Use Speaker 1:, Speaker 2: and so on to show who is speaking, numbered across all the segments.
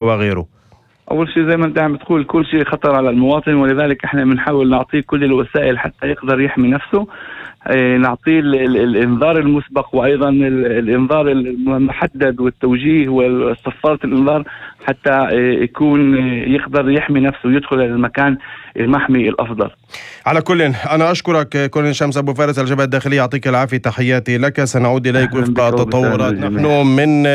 Speaker 1: وغيره؟
Speaker 2: أول شيء زي ما أنت عم بتقول كل شيء خطر على المواطن، ولذلك إحنا بنحاول نعطيه كل الوسائل حتى يقدر يحمي نفسه. نعطيه الإنذار المسبق، وأيضا الإنذار المحدد والتوجيه والصفارة الإنذار حتى يكون يقدر يحمي نفسه ويدخل إلى المكان المحمي الأفضل.
Speaker 1: على كل أنا أشكرك كولونيل شمس أبو فارس الجبهة الداخلية، يعطيك العافية، تحياتي لك. سنعود إليك وفق التطورات. نحن من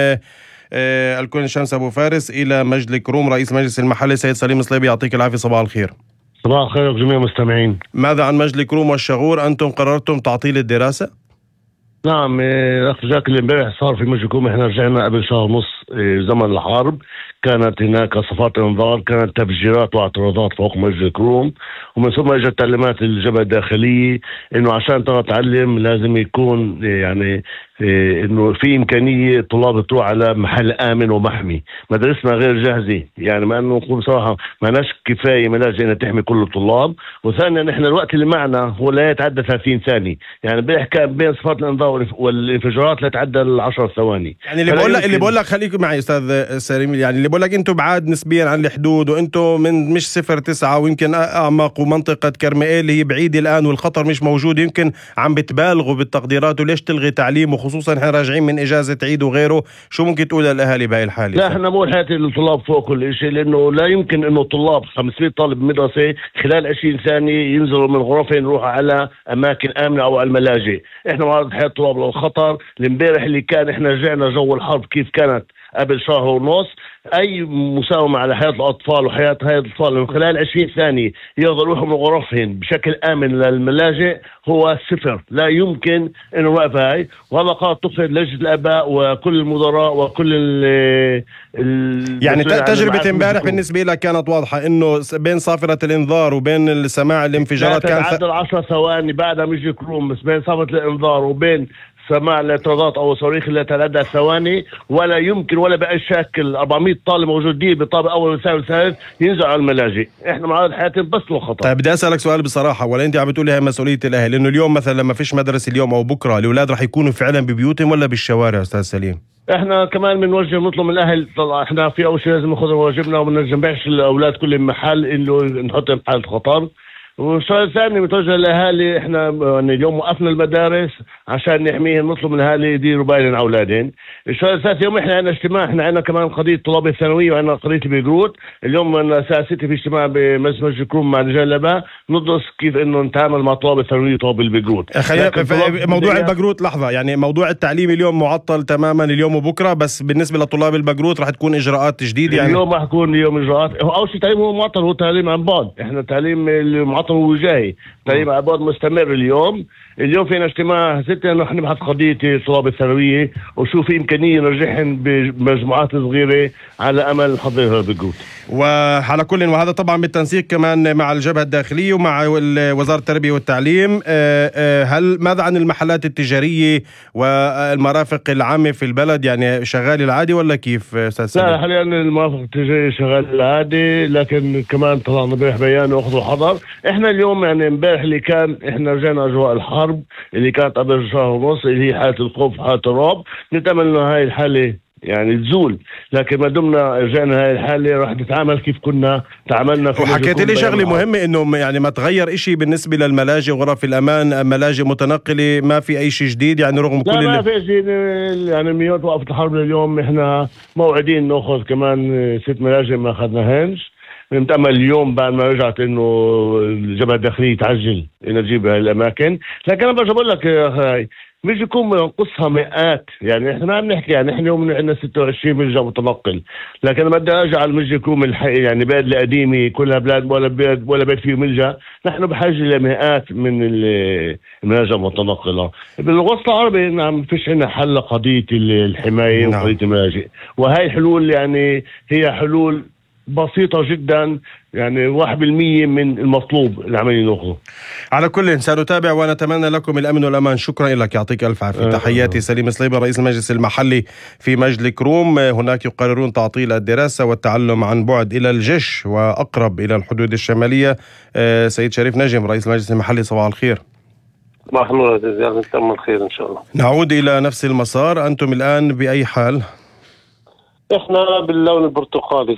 Speaker 1: الكولونيل شمس أبو فارس إلى مجلس كروم، رئيس مجلس المحلي سيد سليم صليبي، يعطيك العافية، صباح الخير.
Speaker 3: صباح الخير جميع المستمعين.
Speaker 1: ماذا عن مجلس كروم والشغور؟ أنتم قررتم تعطيل الدراسة؟
Speaker 3: نعم، أخ جاك اللي امبارح صار في مجلس كروم. احنا رجعنا قبل شهر ونص زمن الحرب، كانت هناك صفات انذار، كانت تفجيرات واعتراضات فوق مجلس كروم، ومن ثم اجت تعليمات الجبهة الداخلية انه عشان ترى تعلم لازم يكون يعني انه في امكانيه طلاب تروح على محل امن ومحمي. مدارسنا غير جاهزه، يعني ما انه نقول بصراحه ما ناش كفايه ملاجئ انها تحمي كل الطلاب. وثانيا نحن الوقت اللي معنا هو لا يتعدى 30 ثانيه، يعني بيحكي بين صفات الانذار والانفجارات لا يتعدى 10 ثواني.
Speaker 1: يعني اللي بقول لك خليكم معي استاذ سليم، يعني اللي بقول لك انتم بعاد نسبيا عن الحدود، وانتم من مش 0-9 ويمكن اعمق، ومنطقه كرميل هي بعيده الان والخطر مش موجود، يمكن عم بتبالغوا بالتقديرات، وليش تلغي تعليم؟ خصوصا احنا راجعين من اجازه عيد وغيره. شو ممكن تقول للاهالي بهاي الحاله؟
Speaker 3: لا، احنا مو حياتي الطلاب فوق كل شيء، لانه لا يمكن انه طلاب 500 طالب بمدرسه خلال 20 ثانيه ينزلوا من غرفهم يروحوا على اماكن امنه او على الملاجئ. احنا معرض حياه الطلاب للخطر. الامبارح اللي كان احنا رجعنا جو الحرب كيف كانت قبل شهر ونص. اي مساومه على حياه الاطفال وحياه هاي الاطفال من خلال 20 ثانيه يقدروا يروحوا من غرفهم بشكل امن للملاجئ هو صفر. لا يمكن انه نوقف هاي، وهذا قرار اتخذ لجنه الاباء وكل المدراء وكل
Speaker 1: يعني تجربه امبارح بالنسبه لك كانت واضحه انه بين صافره الانذار وبين سماع الانفجارات كان
Speaker 3: تعدل 10 ثواني بعدها مش كروم، بس بين صافره الانذار وبين سماع الاعتراضات او الصواريخ اللي تتعدى ثواني ولا يمكن ولا باي شكل 400 طالب موجودين بطابق اول وثاني وثالث ينزلوا على الملاجئ. احنا معارض حياتهم بس للخطر.
Speaker 1: طيب بدي اسالك سؤال بصراحه، ولا انت عم بتقولي هي مسؤوليه الاهل؟ لانه اليوم مثلا لما فيش مدرسه اليوم او بكره الاولاد رح يكونوا فعلا ببيوتهم ولا بالشوارع استاذ سليم؟
Speaker 3: احنا كمان بنوجه نطلب من الاهل. طلع احنا في اول شيء لازم ناخذ واجبنا وما نجمعش الاولاد كلهم محل انه نحطهم بحاله خطر. والشيء الثاني متوجه للاهالي، احنا اليوم وقفنا المدارس عشان نحميهم، نطلب من الاهالي يديروا بالهم اولادهم. الشيء الثالث يوم احنا عندنا اجتماع، احنا عندنا كمان قضيه طلاب الثانويه وعندنا قضيه البيجروت. اليوم الساعه 6 في اجتماع بمجلس كروم مع رجال الاباء ندرس كيف انه نتعامل مع طلاب الثانويه وطلاب البيجروت.
Speaker 1: موضوع البيجروت لحظه، يعني موضوع التعليم اليوم معطل تماما اليوم وبكره، بس بالنسبه لطلاب البيجروت رح تكون اجراءات جديده. يعني
Speaker 3: اليوم رح يكون اليوم اجراءات. اول شيء تعليم هو معطل، هو تعليم عن بعد. احنا تعليم المعطل وجاهي، تعليم عن بعد مستمر. اليوم فينا اجتماع 6 نحن نبحث قضيه طلاب الثانويه وشوف في امكانيه نرجعهم بمجموعات صغيره على امل نحضرها بالجروب.
Speaker 1: وعلى كل، وهذا طبعا بالتنسيق كمان مع الجبهه الداخليه ومع وزاره التربيه والتعليم. ماذا عن المحلات التجاريه والمرافق العامه في البلد؟ يعني شغال العادي ولا كيف استاذ سليم؟
Speaker 3: لا، حاليا المرافق التجاريه شغال العادي، لكن كمان طلعنا امبارح بيان واخذوا الحذر. احنا اليوم يعني امبارح اللي كان احنا رجعنا اجواء الحرب اللي كانت قبل شهر ونص اللي هي حاله الخوف حاله الرعب. نتامل انه هاي الحاله يعني تزول، لكن ما دمنا رجعنا هاي الحاله راح نتعامل كيف كنا تعاملنا.
Speaker 1: وحكيت لي شغله مهمه انه يعني ما تغير إشي بالنسبه للملاجئ وغرف الامان، ملاجئ متنقله، ما في اي شيء جديد يعني رغم كل
Speaker 3: ما في شيء. يعني من يوم وقفت الحرب لليوم احنا موعدين ناخذ كمان 6 ملاجئ ما اخذناهنش. نتأمل اليوم بعد ما رجعت انه الجبهة الداخلية تعجل انها تجيب هاي الاماكن. لكن انا برجع بقول لك يا اخي مش يكون بنقصها مئات. يعني احنا ما بنحكي، يعني احنا اليوم عندنا 26 ملجأ متنقل، لكن لما بدي ارجع على الملجأ يكون يعني بلاد القديمه كلها بلاد ولا بيت فيه ملجأ. نحن بحاجه لمئات من الملاجئ المتنقله. بالوسط العربي نعم فيش عندنا حل قضيه الحمايه وقضيه الملاجئ، وهي الحلول يعني هي حلول بسيطة جدا، يعني 1% من المطلوب اللي عمالين ناخذه.
Speaker 1: على كل سنتابع ونتمنى لكم الأمن والأمان. شكرا لك، يعطيك ألف عافية. تحياتي. سليم صليبي رئيس المجلس المحلي في مجلس كروم. هناك يقررون تعطيل الدراسة والتعلم عن بعد إلى الجيش وأقرب إلى الحدود الشمالية. سيد شريف نجم رئيس المجلس المحلي، صباح الخير.
Speaker 4: صباح النور يا نتمنى الخير إن شاء الله.
Speaker 1: نعود إلى نفس المسار، أنتم الآن بأي حال؟
Speaker 4: احنا باللون البرتقالي.